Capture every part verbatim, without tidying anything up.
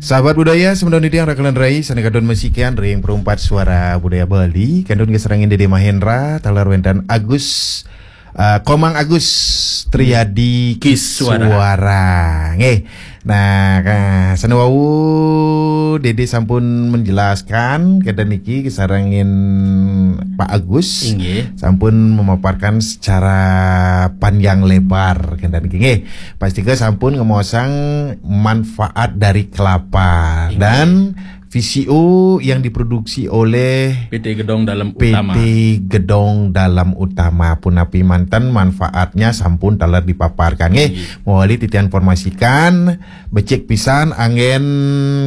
Sahabat budaya, semeton titiang raka lan rai, sané katon masikian ring Perumpat Suara Budaya Bali, kantun kasarengin Dede Mahendra, taler wénten Agus, eh, Komang Agus Triadi Kiswara. Kiswara. Nggih. Nah, ka-, sané wau Dede sampun menjelaskan, kenten niki kasarengin Pak Agus. Inggih. Sampun memaparkan secara panjang lebar, kenten niki. Nggih. Pastika sampun ngemaosang manfaat dari kelapa. Inggih. Dan V C O yang diproduksi oleh P T Gedong Dalam Utama. P T Gedong Dalam Utama. Punapi manten manfaatnya sampun taler dipaparkan. Nggih, inggih. Mawali titiang informasikan, becik pisan anggén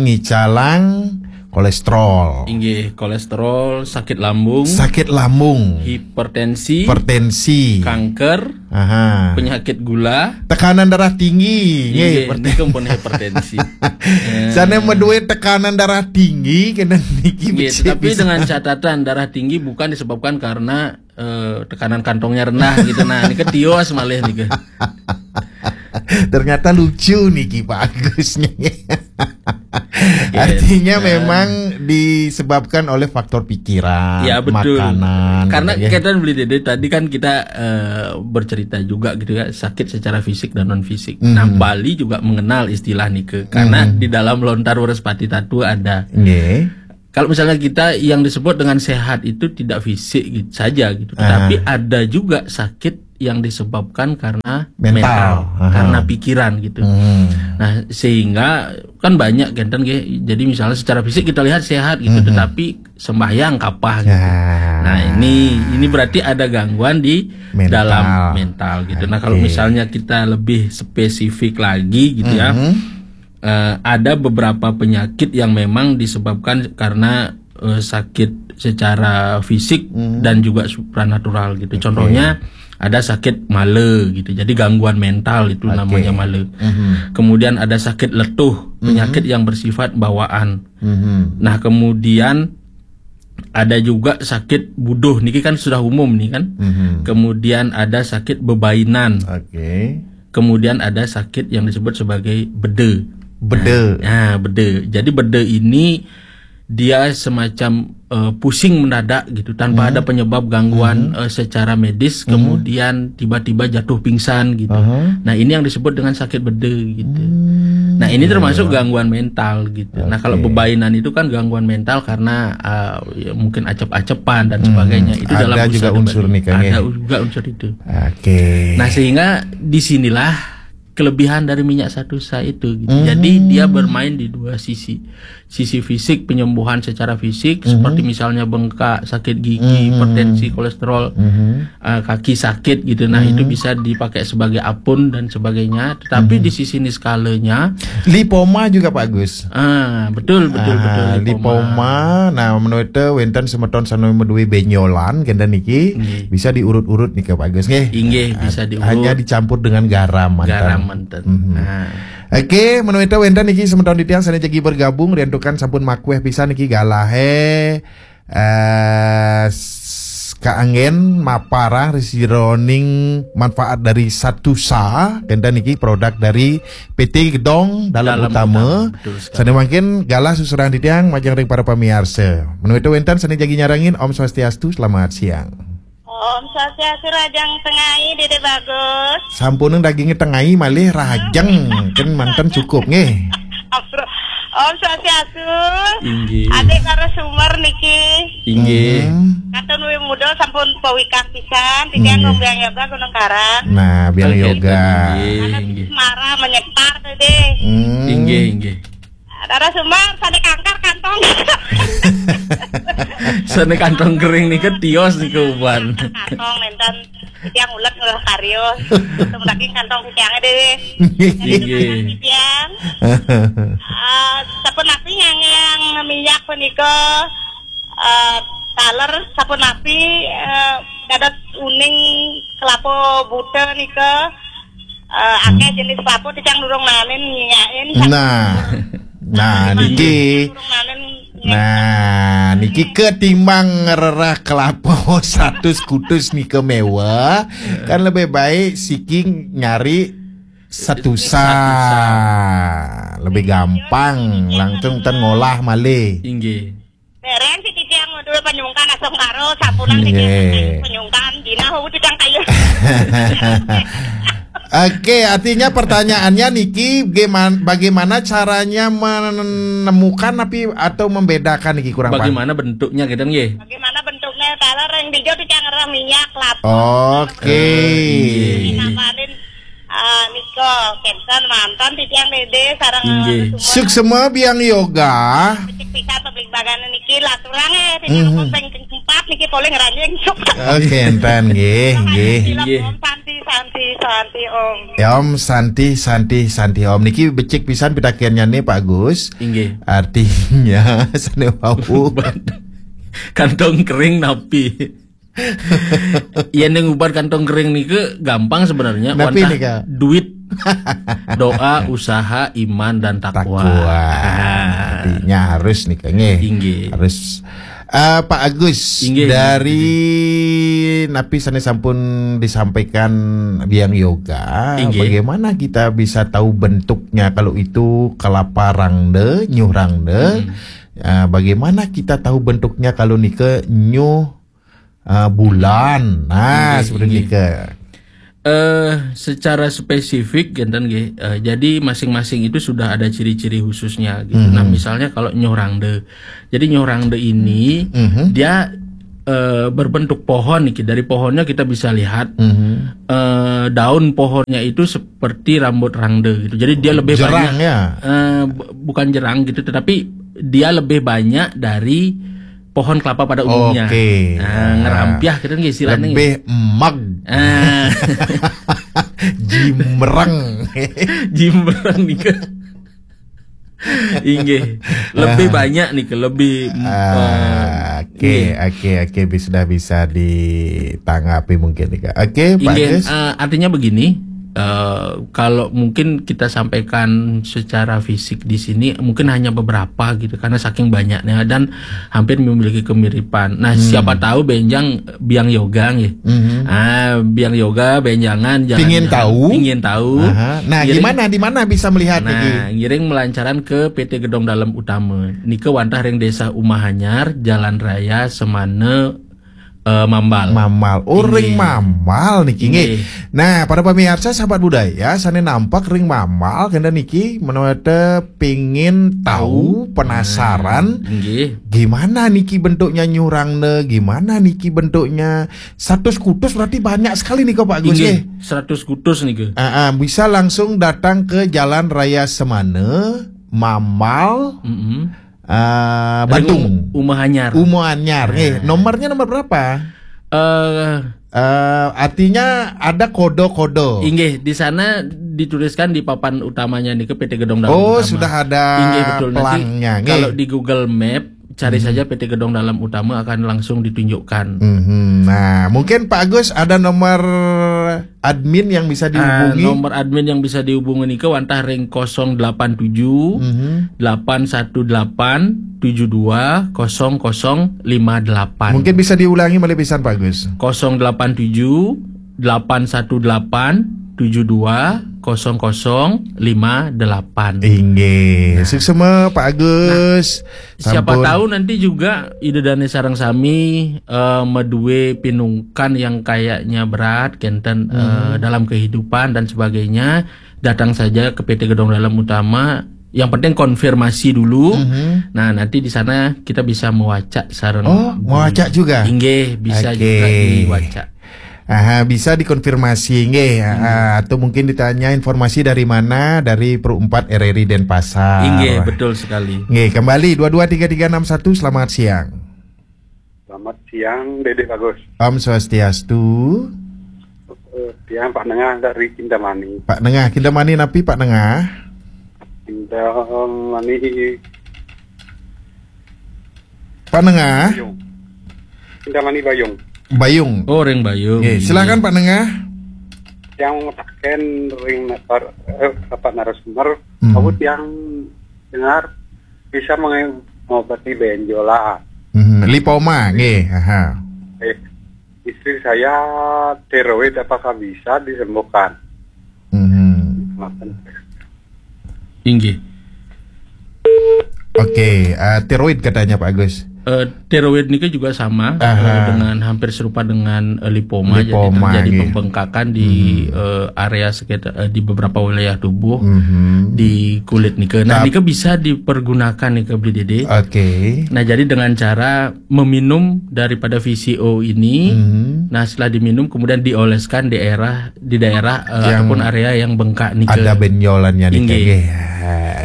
ngicalang kolesterol. Inggih, kolesterol, sakit lambung, sakit lambung, hipertensi, hipertensi, kanker, aha, penyakit gula, tekanan darah tinggi. Inggih, nggih, hipertensi. Nika pun hipertensi. Eh. Sané madué tekanan darah tinggi, kenten niki. Nggih, becik tetapi pisan. Dengan catatan, darah tinggi bukan disebabkan karena, eh, tekanan kantongnya rendah gitu. Nah, nika tios malih nika. Ternyata lucu niki Pak Agus nih. Oke, artinya, eh, memang disebabkan oleh faktor pikiran, ya, betul, makanan, karena gitu ya. Kita beli Dede tadi kan kita, eh, bercerita juga gitu ya, sakit secara fisik dan non fisik. Mhm. Nah, Bali juga mengenal istilah nika karena, mhm, di dalam lontar Wrespati Tatu ada. Nggih. Kalau misalnya kita yang disebut dengan sehat itu tidak fisik gitu saja gitu, aha, tetapi ada juga sakit yang disebabkan karena mental, mental, aha, karena pikiran gitu. Hmm. Nah, sehingga kan banyak kenten nggih. Jadi misalnya secara fisik kita lihat sehat gitu, mhm, tetapi sembahyang kapah gitu. Ya. Nah, ini, ini berarti ada gangguan di, mental, dalam mental gitu. Nah, kalau, oke, misalnya kita lebih spesifik lagi gitu ya, mhm, eh, ada beberapa penyakit yang memang disebabkan karena, eh, sakit secara fisik, mhm, dan juga supranatural gitu. Oke. Contohnya ada sakit male gitu. Jadi gangguan mental itu, oke, namanya male. Mhm. Kemudian ada sakit letuh, mhm, penyakit yang bersifat bawaan. Mhm. Nah, kemudian ada juga sakit buduh, niki kan sudah umum nih kan. Mhm. Kemudian ada sakit bebainan. Oke. Kemudian ada sakit yang disebut sebagai bede. Bede. Nah, nah, bede. Jadi bede ini dia semacam, eh, pusing mendadak gitu, tanpa, mhm, ada penyebab gangguan, mhm, eh, secara medis, mhm, kemudian tiba-tiba jatuh pingsan gitu. Aha. Nah, ini yang disebut dengan sakit bede gitu. Hmm, nah, ini, iya, termasuk, iya, gangguan mental gitu. Nah, kalau, oke, bebainan itu kan gangguan mental karena, eh, ya, mungkin acep-acepan dan, hmm, sebagainya. Itu ada dalam juga unsur, unsur nih, Kang, ada, ya, juga unsur itu. Oke. Nah, sehingga disinilah kelebihan dari minyak satusa itu gitu. Hmm. Jadi dia bermain di dua sisi. Sisi fisik, penyembuhan secara fisik, mhm, seperti misalnya bengkak, sakit gigi, mhm, hipertensi, kolesterol, mhm, eh, kaki sakit gitu. Nah, itu, mhm, bisa dipakai sebagai apun dan sebagainya. Tetapi, mhm, di sisi niskalanya, lipoma juga, Pak Gus. Ah, betul, betul, ah, betul, lipoma. Lipoma. Nah, menawi wénten semeton sané madué bénjolan kenten niki, nggih, bisa diurut-urut nih, Pak Gus, nggih. Inggih, ah, bisa diurut. Hanya dicampur dengan garam manten. Garam manten. Mhm. Nah. Oke, menawi wénten niki semeton titiang sané jagi bergabung, riantukan sampun makuéh pisan niki galahé, eh, s-, kaanggén maparang ri sajeroning manfaat dari satusa, kenten niki produk dari P T Gedong Dalam, Dalam Utama. Utama, betul sekali. Sané mangkin galah susuran titiang majeng ring para pamiarsa. Menawi wénten sané jagi nyarengin, Om Swastiastu, selamat siang. Om Swastiastu, rahajeng tengai, Dede Bagus. Sampunang dagingé tengai malih rahajeng, kan manten cukup nggih. Om Swastiastu. Inggih. Adik narasumber niki. Inggih. Hmm. Katun Wi Muda sampun pawikak pisan, titiang, inggih, Gung Biang Yoga Gunung Karang. Nah, Biang, oke, Yoga. Inggih, inggih. Semara menyekar tadi. Hmm. Inggih, inggih. Narasumber, sané kanker kantong. Sané kantong kering nika tios nika uban. Kantong nénten, titiang ulet ngolah karyo. Kantong daging, kantong titiangé déwé. Inggih. Titiang. Eh, sapunapi yang, yang minyak punika, eh, taler sapunapi, eh, dados uning kelapa buta nika, eh, akéh jenis kelapa, titiang durung naenin nyiakin. Nah. Nah, niki. Durung naenin nyiakin. Nah, niki ketimbang ngrereh kelapa satus kutus nika méweh, kan lebih baik siki nyari satusa. Satusa. Lebih gampang, langsung ten ngolah malih. Inggih. Beren si titiang modul penyungkan asam karo sampunan Nggih. titiang penyungkan dina hau titiang kayu. Oke, artinya pertanyaannya niki, bagaimana, bagaimana caranya menemukan tapi atau membedakan niki kurang paham? Bagaimana bentuknya gitu nggih? Bagaimana bentuknya? Kalau reng hijau titiang ngerah minyak kelapa. Oke. Inggih. Napalin ah, nika kenten mantan titiang dede sareng Inggih. semua. Suksema biang yoga. Cek pisan pabligbagan niki laturang eh titiang Mhm. pun peng empat niki poleng ranjing. Oke, enten nggih, nggih. Inggih. Om santi santi santi om. Ya, Om Santi, Santi, Santi Om. Niki becik pisan pitakennya nih Pak Agus. Inggih. Artinya sane wau. Kantong kering napi? Yen ning ubat kantong kering niki gampang sebenarnya. Napi Wantah nika? Duit, doa, usaha, iman dan takwa. Takwa. Ah. Artinya harus nih nggih. Inggih. Harus. Eh, Pak Agus, Inggih. Dari napi sane sampun disampaikan biang yoga, Inggih. Bagaimana kita bisa tahu bentuknya kalau itu kelapa rangde, nyuh rangde? Hmm. Eh, bagaimana kita tahu bentuknya kalau nike nyuh eh, bulan? Nah, Inggih, seperti inggih. nike. Eh, secara spesifik kenten nggih. Eh, jadi masing-masing itu sudah ada ciri-ciri khususnya gitu. Mhm. Nah, misalnya kalau nyuh rangde. Jadi nyuh rangde ini Mhm. dia eh, berbentuk pohon nih. Dari pohonnya kita bisa lihat Mhm. eh, daun pohonnya itu seperti rambut rangde gitu. Jadi dia lebih Jerang banyak ya? eh, bu- bukan jerang gitu, tetapi dia lebih banyak dari pohon kelapa pada umumnya. Oke. Nah, ngerampiah gitu nggih istilahnya. Lebih emag. Ah, Jimreng. Jimreng nih. Inggih. Lebih banyak nih, lebih Ah, eh, Oke, oke, oke, bis- sudah bisa ditanggapi mungkin nih, Kak. Oke, Pak Inggih, Agus. eh, artinya begini, eh, kalau mungkin kita sampaikan secara fisik di sini mungkin hanya beberapa gitu karena saking banyaknya dan hampir memiliki kemiripan. Nah, Hmm. siapa tahu benjang biang yoga nggih. Mhm. Ah, biang yoga benjangan jalan Pingin tahu? Pingin tahu. Aha. Nah, Ngiring- gimana di mana bisa melihat Nah, niki? Ngiring melancaran ke P T Gedong Dalem Utama. Nika wantah ring Desa Umahanyar, Jalan Raya Semana eh, Mambal. Mambal. Oh, ring Inggih. Mambal niki nggih. Inggih. Nah, para pemirsa sahabat budaya, sane nampak ring Mambal kena niki menawa te pingin tahu, penasaran Inggih. Gimana niki bentuknya nyurang ne? Gimana niki bentuknya? Seratus kutus berarti banyak sekali nih Pak Agus Inggih, ya. Seratus kutus nih ke. Ah, ah, bisa langsung datang ke Jalan Raya Semana, Mambal, Mm-mm. ah, Ring Batung. Um- Umahanyar. Umahanyar. Eh, nomornya nomor berapa? Eh, Eh, artinya ada kode-kode. Inggih, di sana dituliskan di papan utamanya nih ke P T Gedong Dalem Oh, Utama. sudah ada Inggih, betul. Nanti pelangnya, nggih. Kalau di Google Map cari saja P T Gedong Dalem Utama akan langsung ditunjukkan. Mhm. Nah, mungkin Pak Agus ada nomor admin yang bisa Ah, dihubungi. Nomor admin yang bisa dihubungi nih ke wantah ring kosong delapan tujuh Mhm. delapan satu delapan tujuh dua kosong kosong lima delapan. Mungkin bisa diulangi malih pisan Pak Agus. Kosong delapan tujuh delapan satu delapan tujuh dua kosong kosong lima delapan. Inggih. Suksema Pak Agus. Siapa Sampun. Tahu nanti juga Ida Dane sareng sami eh, madue pinungkan yang kayaknya berat kenten eh, dalam kehidupan dan sebagainya, datang saja ke P T Gedong Dalem Utama. Yang penting konfirmasi dulu. Mhm. Nah, nanti di sana kita bisa mewacak sareng Oh, mewacak juga? Inggih, bisa Oke. Juga diwacak. Aha, bisa dikonfirmasi nggih, ah, atau mungkin ditanya informasi dari mana, dari Pro empat R R I Denpasar. Inggih, betul sekali. Nggih, kembali dua dua tiga tiga enam satu, selamat siang. Selamat siang, Dede Bagus. Om Swastiastu. Eh, Tiang Pak Nengah dari Kintamani. Pak Nengah, Kintamani napi Pak Nengah? Kintamani Pak Nengah, Bayung. Kintamani Bayung. Bayung. Oh, ring Bayung. Nggih, silakan Pak Nengah. Yang mengatakan ring napar, eh, Bapak narasumber, Hmm. aku tiang dengar bisa mengobati benjolan. Hmm, lipoma, nggih. Aha. Eh, istri saya tiroid apakah bisa disembuhkan? Hmm. Maafkan. Inggih. Oke, eh, tiroid katanya Pak Agus. Eh, tiroid nika juga sama, eh, dengan hampir serupa dengan, eh, lipoma. Jadi terjadi pembengkakan di, eh, area sekitar, eh, di beberapa wilayah tubuh, di kulit nika. Nah, nika bisa dipergunakan nika, Bli Dede. Oke. Nah, jadi dengan cara meminum daripada V C O ini, nah, setelah diminum kemudian dioleskan di daerah, di daerah, eh, ataupun area yang bengkak nika. Ada benjolannya nika. Inggih.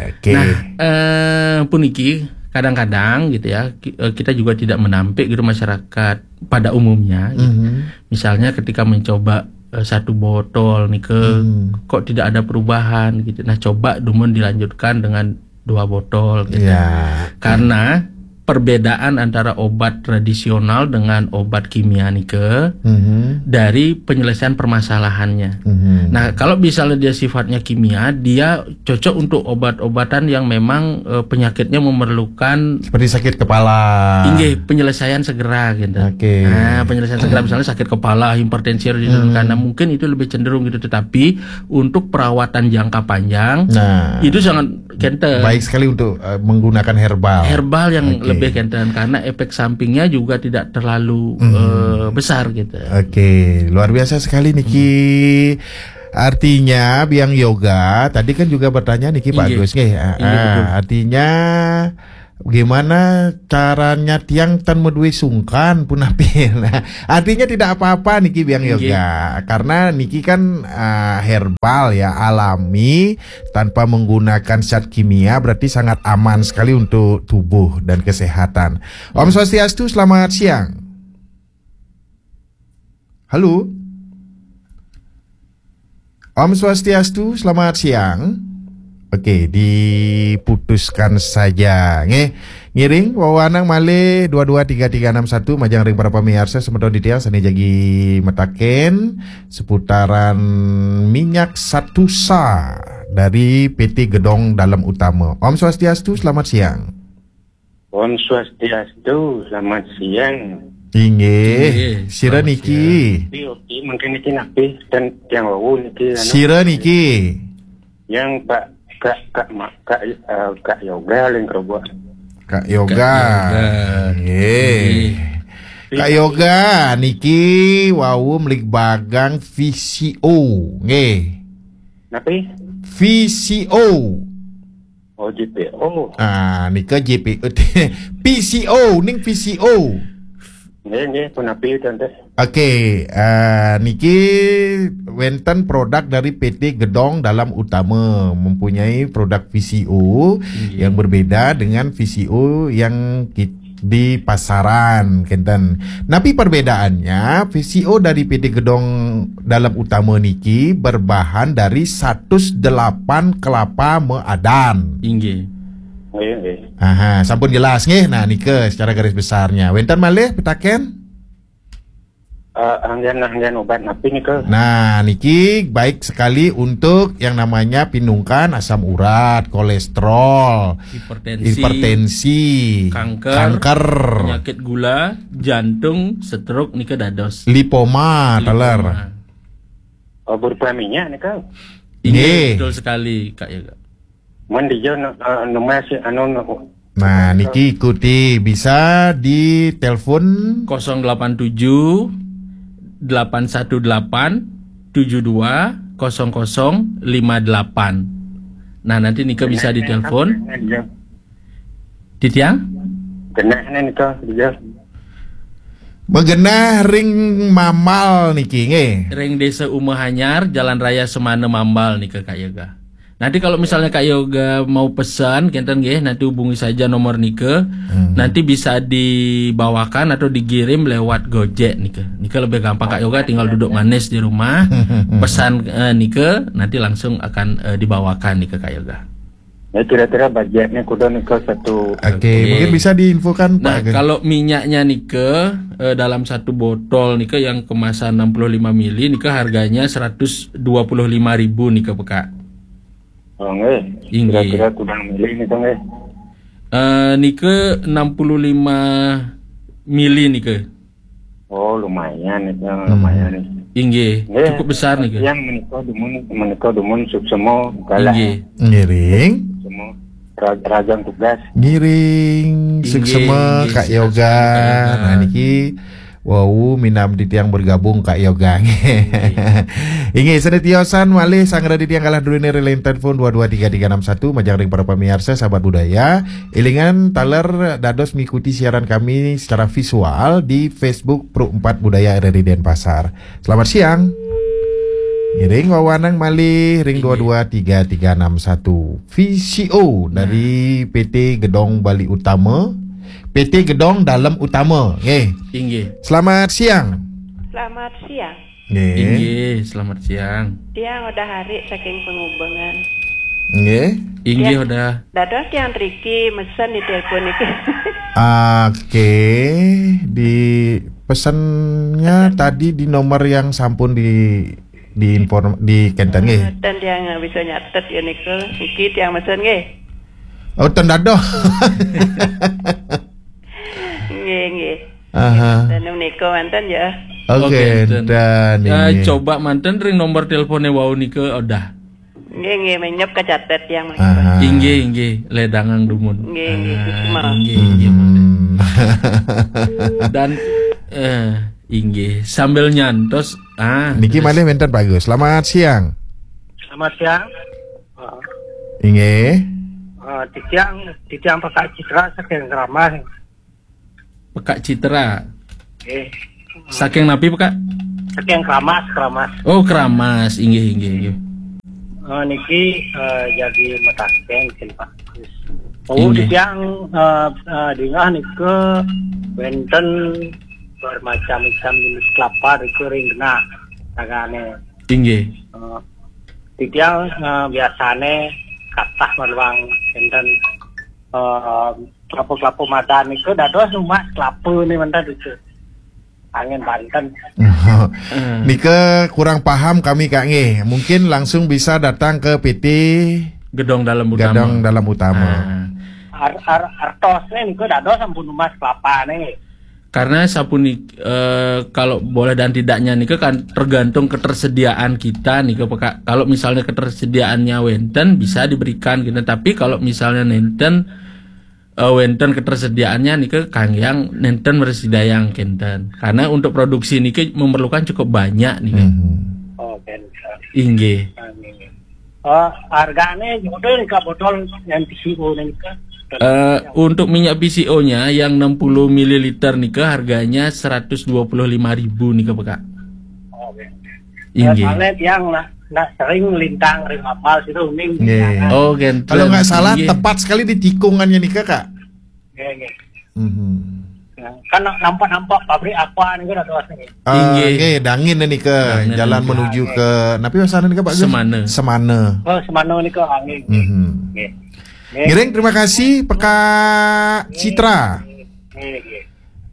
Oke. Nah, eh, puniki kadang-kadang gitu ya, ki- eh, kita juga tidak menampik gitu masyarakat pada umumnya gitu. Misalnya ketika mencoba, eh, satu botol nika, kok tidak ada perubahan gitu. Nah, coba dumun dilanjutkan dengan dua botol gitu. Ya. Karena perbedaan antara obat tradisional dengan obat kimia nika dari penyelesaian permasalahannya. Nah, kalau misalnya dia sifatnya kimia, dia cocok untuk obat-obatan yang memang, eh, penyakitnya memerlukan, seperti sakit kepala. Inggih, penyelesaian segera gitu. Oke. Nah, penyelesaian segera misalnya sakit kepala, hipertensi, dan karena mungkin itu lebih cenderung gitu. Tetapi untuk perawatan jangka panjang, nah, itu sangat kenten. Baik sekali untuk, eh, menggunakan herbal. Herbal yang lebih kenten karena efek sampingnya juga tidak terlalu, eh, besar gitu. Oke, luar biasa sekali niki. Artinya biang yoga tadi kan juga bertanya niki Pak Agus nggih. Ah, ah, artinya gimana caranya tiang tan medue sungkan punapi. Nah, artinya tidak apa-apa niki biang yoga karena niki kan, ah, herbal ya, alami, tanpa menggunakan zat kimia, berarti sangat aman sekali untuk tubuh dan kesehatan. Om Swastiastu, selamat siang. Halo. Om Swastiastu, selamat siang. Oke, diputuskan saja. Nggih, ngiring wewanang malih dua dua tiga tiga enam satu, majeng ring para pamiarsa semeton titiang sane jagi mataken seputaran minyak Satusa dari P T Gedong Dalem Utama. Om Swastiastu, selamat siang. Om Swastiastu, selamat siang. Inggih. Sira niki? Oke, oke, mungkin niki napi dan yang wau niki, anu. Sira niki? Yang Pak, Kak, Kak Ma-, Kak, eh, Kak Yoga ling kerubuk. Kak Yoga. Kak Yoga. Nggih. Nggih. Kak Yoga niki wau mligbagang V C O, nggih. Napi? V C O. Oh, J P O. Ah, nika J P O. P C O, ning V C O. Nggih, nggih, punapi, Tante? Oke, eh, niki wenten produk dari P T Gedong Dalem Utama, mempunyai produk V C O yang berbeda dengan V C O yang ki-, di pasaran, kenten. Napi perbedaannya? V C O dari P T Gedong Dalem Utama niki berbahan dari satus delapan kelapa meadan. Inggih. Nggih, nggih. Aha, sampun jelas nggih. Nah, nika secara garis besarnya. Wenten malih pitaken? Eh, anggen, anggen obat napi nika? Nah, niki baik sekali untuk yang namanya pinungkan asam urat, kolesterol, hipertensi, hipertensi, kanker, kanker, penyakit gula, jantung, stroke nika dados. Lipoma, lipoma, taler. Oh, berupa minyak nika? Inggih, nggih, betul sekali, Kak Yoga. Mun dija, eh, numbas anu, nu-, Nah, niki ikuti, bisa ditelepon kosong delapan tujuh, delapan satu delapan, tujuh dua kosong kosong lima delapan. Nah, nanti nika bisa ditelepon. Genah, genah, titiang? Genah nika, dija. Magenah ring Mambal niki, nggih. Ring Desa Uma Hanyar, Jalan Raya Semana, Mambal nika, Kak Yoga. Nanti kalau misalnya Kak Yoga mau pesan, kenten nggih, nanti hubungi saja nomor nika. Hmm. Nanti bisa dibawakan atau dikirim lewat Gojek nika. Nika lebih gampang, Kak Yoga tinggal duduk manis di rumah, pesan, eh, nika, nanti langsung akan, eh, dibawakan nika, Kak Yoga. Ya, kira-kira budgetnya kuda nika satu. Oke, oke, mungkin bisa diinfokan, Pak Agus. Nah, kalau minyaknya nika, eh, dalam satu botol nika yang kemasan enam puluh lima mili nika harganya seratus dua puluh lima ribu nika, Pak. Oh, nggih. Inggih. Kira-kira kuda mili nika, nggih? Eh, nika enam puluh lima mili nika. Oh, lumayan itu, hmm, lumayan. Inggih, nggih, cukup besar nika. Yang menika dumun, menika dumun suksema galah. Inggih. Ngiring. Suksema. Ra- Rajang tugas. Ngiring, inggih, suksema, inggih, Kak Yoga. Nah, niki wau minam titiang bergabung, Kak Yoga. Inggih, sane tiosan malih sanggra titiang kalah druene ring line telepon dua dua tiga tiga enam satu, majeng ring para pamiarsa, sahabat budaya. Elingan taler dados mengikuti siaran kami secara visual di Facebook Pro empat Budaya R R I Denpasar. Selamat siang. Ngiring wawanang malih ring dua dua tiga tiga enam satu. V C O dari P T Gedong Bali Utama. P T Gedong Dalem Utama. Nggih. Inggih. Selamat siang. Selamat siang. Nggih. Inggih, selamat siang. Tiang Odah Hari saking Pengubengan. Nggih. Inggih, tiang Odah. Dados tiang driki mesen di telepon niki. Oke, di pesannya tadi di nomor yang sampun di di inform di kenten nggih. Eh, dan tiang bisa nyatet ya niku. Niki tiang mesen nggih. Oh, ten dados. Nggih, nggih. Aha. Dan menika manten ya. Oke, oke, enten. Dan eh, ini. Coba manten ring nomor teleponnya wau nika Odah. Nggih, nggih, menyep kacatet yang mangke. Aha. Inggih, inggih, ledangang dumun. Nggih, nggih, ah, suksma. Inggih, inggih, hmm. Dan eh inggih, sambil nyantos ah niki terus. Malih wenten Pak Gus. Selamat siang. Selamat siang. Ah. Inggih. Ah, titiang, titiang Pak Citra saking Keramas. Pekak Citra. Nggih. Saking napi, Pekak? Saking Keramas, Keramas. Oh, Keramas. Inggih, inggih, inggih. Eh, niki eh, jadi metaken sih, Pak. Oh, nggih. Titiang eh, eh, dingah nika wenten bermacam-macam jenis kelapa nika ring genah tangane. Inggih. Eh, titiang eh, biasane katah maluang enten eh, kelapa-kelapa madan niku dados numbas kelapa ni manten itu. Angin banten. Nika kurang paham kami, Kak, nggih. Mungkin langsung bisa datang ke P T Gedong Dalem Utama. Gedong Dalem Utama. Ah. Ar, ar, artosne niku dados sampun numbas kelapa nih. Karena sapunika eh, kalau boleh dan tidaknya nika kan tergantung ketersediaan kita nika, Pak. Kalau misalnya ketersediaannya wenten bisa diberikan gitu. Tapi kalau misalnya nenten eh, wenten ketersediaannya nika kanggiang nenten mresidayang kenten. Karena untuk produksi niki memerlukan cukup banyak nika. Mhm. Oh, kenten. Inggih. Amin. Eh, hargane jodoh nika botol yang P C O nika. Eh, untuk minyak P C O-nya yang enam puluh mililiter nika harganya seratus dua puluh lima ribu nika, Pak. Oh, oke. Inggih. Eh, soalnya tiang lah, nak sering lintang ring kapal situ, uning. Nggih. Oh, kenten. Kalau nggak salah, inggih. Tepat sekali di tikungannya nika, Kak. Nggih, nggih. Mhm. Ya, kan nampak-nampak pabrik apa nih kan ada asli. Ah, inggih. Nggih, Dangin nika, dangin jalan nika. Menuju ke, napi wasana nika, Pak Gus? Semana. Semana. Oh, Semana nika, ah, nggih, nggih. Mhm. Nggih. Nggih. Ngiring, terima kasih, Pekak Citra. Nggih, nggih.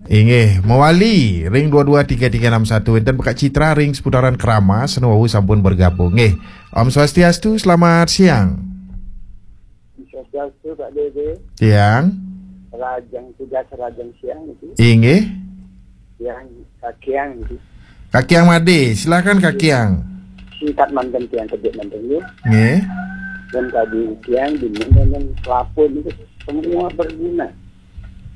Inggih, mawali ring dua dua tiga tiga enam satu. Enten Pekak Citra ring seputaran Keramas, nu wau sampun bergabung. Nggih. Om Swastiastu, selamat siang. Swastiastu, Pak Dede. Siang. Rajang tugas rajang siang itu. Inggih. Yang kakiang itu. Kakiang Made, silakan kakiang. Singkat manten tiang kedek manten ya. Nggih. Dan tadi tiang di mana kelapa itu semua berguna.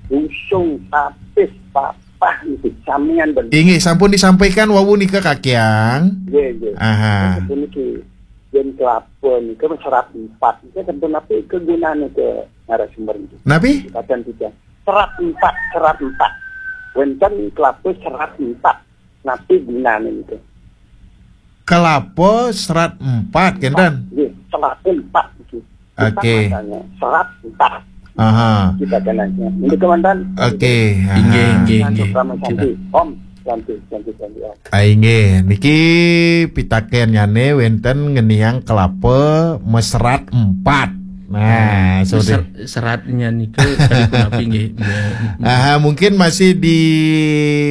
Busung, tapis, papah itu samian berguna. Inggih, sampun disampaikan wau nika kakiang. Nggih, nggih. Aha. Sampun niki. Yen kelapa nika serat empat. Nika sampun napi kegunane ke narasumber niki? Napi? Katan tiga. Serat empat, serat empat. Wenten kelapa serat empat. Napi gunane nika? Kelapa serat empat, kenten? Nggih, serat empat niki. Oke. Serat empat. Aha. Kita kenanya. Ini komandan. Oke, aha. Inggih, inggih, inggih. Om, santi, santi, santi, Om. Ah, inggih, niki pitakennyane wenten ngeniang kelapa meserat empat. Nah, hmm, sudah. Meser-, seratnya niku kali punapi nggih. Aha, mungkin masih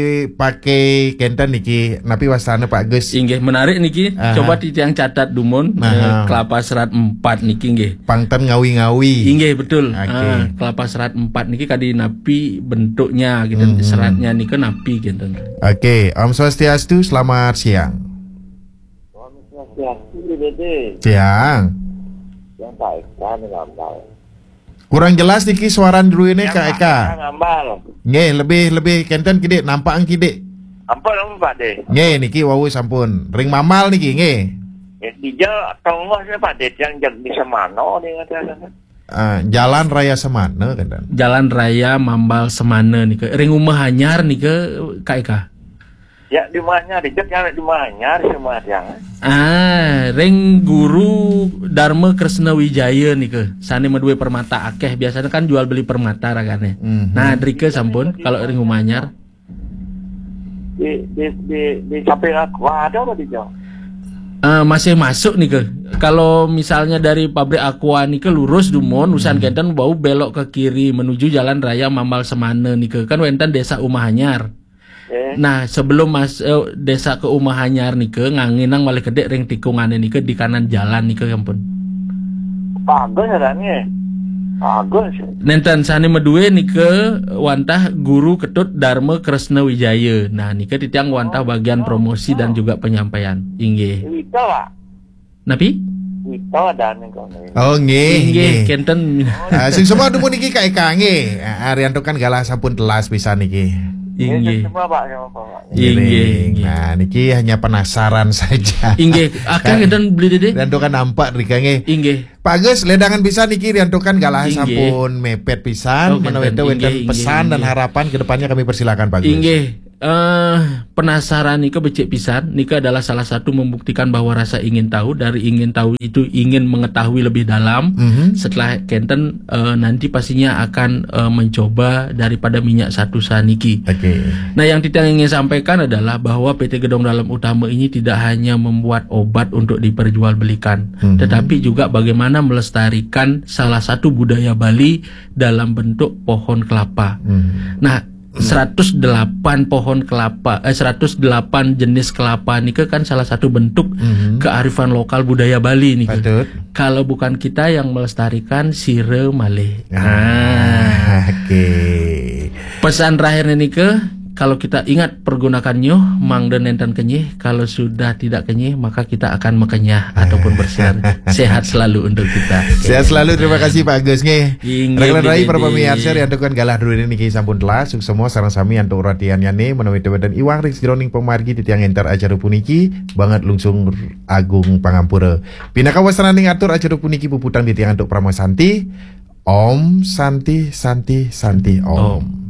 dipakai kenten niki. Napi wastane Pak Gus? Inggih, menarik niki. Aha. Coba titiang catat dumun, aha, eh, kelapa serat empat niki nggih. Pang ten ngawi-ngawi. Inggih, betul. Oke. Ah, kelapa serat empat niki kadi napi bentuknya gitu. Hmm. Seratnya nika napi gitu. Oke, Om Swastiastu, selamat siang. Om Swastiastu, Dede. Siang. Yang Pak Eka nih gambar. Kurang jelas niki suaran druene, Kak Eka. Ngambal. Nggih, lebih, lebih kenten kidik, nampakang kidik. Ampun, ampun, Pak De. Nggih, niki wau sampun. Ring Mamal niki, nggih. Nggih, dija tonggoh sih, Pak De, yang jag di Semano nih, kata. Ah, Jalan Raya Semana, kenten. Jalan Raya Mambal Semana nika. Ring Umah Anyar nika, Kak Eka. Ya, di Umah Anyar, dija yang di Umah Anyar, semua yang. Ah, ring Guru Dharma Kresna Wijaya nika. Sane madue permata akeh, biasanya kan jual beli permata ragane. Mhm. Nah, drika sampun, kalau ring Umah Anyar. Di, di, di, di samping aku ada apa di jauh? Eh, masih masuk nika. Kalau misalnya dari pabrik Aqua nika lurus dumun, usan kenten bau belok ke kiri menuju Jalan Raya Mambal Semana nika. Kan wenten Desa Umah Anyar. Eh. Nah, sebelum mas eh, Desa ke Umah Anyar nika, nganginang malih kedek ring tikungane nika di kanan jalan nika, ampun. Bagus adanya. Bagus. Nenten sane madue nika wantah Guru Ketut Dharma Kresna Wijaya. Nah, nika titiang wantah bagian promosi dan juga penyampaian. Inggih. Wita, Pak. Napi? Wita dan nika. Oh, nggih, Inggih, nggih. Kenten. Ah, sing semua dumun niki, Kak Eka, nggih. Ah, Rianto kan galah sampun telas pisan niki. Inggih. Semua, Pak, semua, Pak. Inggih, Ngiring. Inggih. Nah, niki hanya penasaran saja. Inggih, akeh Kan- kenten beli dede. Rianto kan nampak drika, nggih. Inggih. Pak Agus, ledangan pisan niki, Rianto kan galah Inggih. Sampun mepet pisan. Oh, Menawi kenten. Wenten Inggih, inggih, pesan dan inggih. Harapan ke depannya kami persilakan, Pak Agus. Inggih. Eh, penasaran nika becik pisan. Nika adalah salah satu membuktikan bahwa rasa ingin tahu, dari ingin tahu itu ingin mengetahui lebih dalam. Mhm. Setelah kenten, eh, nanti pastinya akan, eh, mencoba daripada minyak satu saniki. Oke. Nah, yang kita ingin sampaikan adalah bahwa P T Gedong Dalem Utama ini tidak hanya membuat obat untuk diperjualbelikan, Mhm. tetapi juga bagaimana melestarikan salah satu budaya Bali dalam bentuk pohon kelapa. Mhm. Nah, seratus delapan pohon kelapa, eh, seratus delapan jenis kelapa nika kan salah satu bentuk Mhm. Kearifan lokal budaya Bali nika. Patut. Kalau bukan kita yang melestarikan, sira malih. Ah, Ah. Oke. Pesan terakhir nika, kalau kita ingat pergunakan nyuh, mangda nenten kenyih. Kalau sudah tidak kenyih, maka kita akan makenyah ataupun bersinar. Sehat selalu untuk kita. Sehat selalu, terima kasih Pak Agus nggih. Inggih, Rekan-rekan inggih, rai, para inggih. Pemirsa, riantukan galah dulu niki sampun telas, suksma sareng sami antuk ratiannyane, menawi wenten iwang ring sajeroning pamargi titiang entar acara puniki, banget lungsung agung pangampura. Pinaka wasananing atur acara puniki puputang titiang antuk parama santi. Om Santi, Santi, Santi, Om. Om.